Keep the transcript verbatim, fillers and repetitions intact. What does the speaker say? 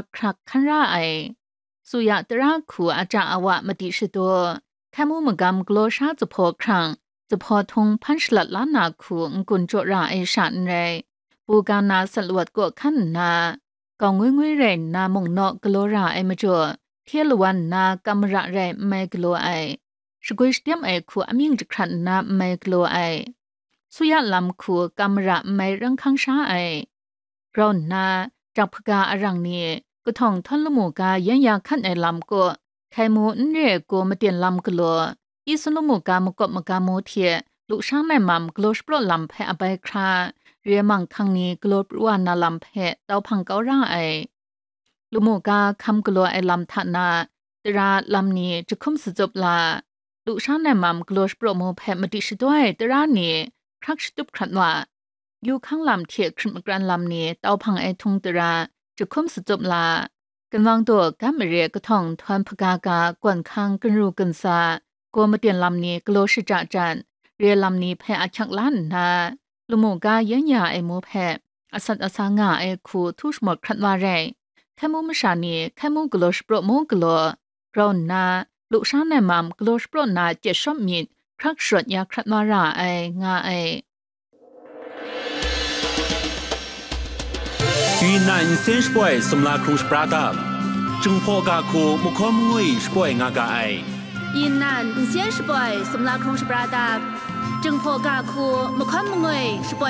hkrak hkan ra ai. Suya tara hku aja awa madi shadaw, hkai mu magam galaw sha zuphpaw hkrang, zuphpaw htung hpan shalat la na hku n-gun jaw ra ai sha n rai, buga na sat lawat kaw hkan nna, gau ngwi ngwi rai nna mung naw galaw ra ai majaw, hte lawan nna kam mara rai n mai galaw ai, shagwi shadem ai hku amying jahkrat nna n mai galaw ai, suya lam hku kam mara n mai rang hkang sha ai. Grau nna, jak hpaga arang ni, kahtawng htawn lamu ga yan ya hkan ai lam kaw, hkai mu n re ai gaw maten lam galaw, Isun lamu ga makawp magam mu hte, lusha nai mam galaw shapraw lam hpe abai hkra, re ai manghkang ni galaw pru wa na lam hpe tau hpang kau ra ai. Lamu ga hkam galaw ai lam hta na, tara lam ni jahkum satsup la, lusha nai mam galaw shapraw mu hpe madi shadaw ai tara ni hkrak shatup hkrat wa, yu hkang lam hte hkrit makran lam ni tau hpang ai htung tara jahkum satsup la, ginwang daw gam mare kahtawng htawn hpaga ga gawn hkang ginru ginsa, gaw maten lam ni galaw shaja jan, re lam ni hpe ahkyak la nna, lamu ga yan ya ai mu hpe asat asa nga ai hku htu shamawt hkrat wa rai. Hkai mu masha ni hkai mu galaw shapraw mu galaw, grau nna, lusha nai mam galaw shapraw na chyet shawp myit hkrak sharawt ya hkrat wa ra ai, nga ai. 云南 nsen shapoi sumla hkrung shapra dap, Jinghpaw ga hku mahkawn mangwi shapoi nga ga ai. 云南 nsen shapoi sumla hkrung shapra dap, Jinghpaw ga hku mahkawn mangwi shapoi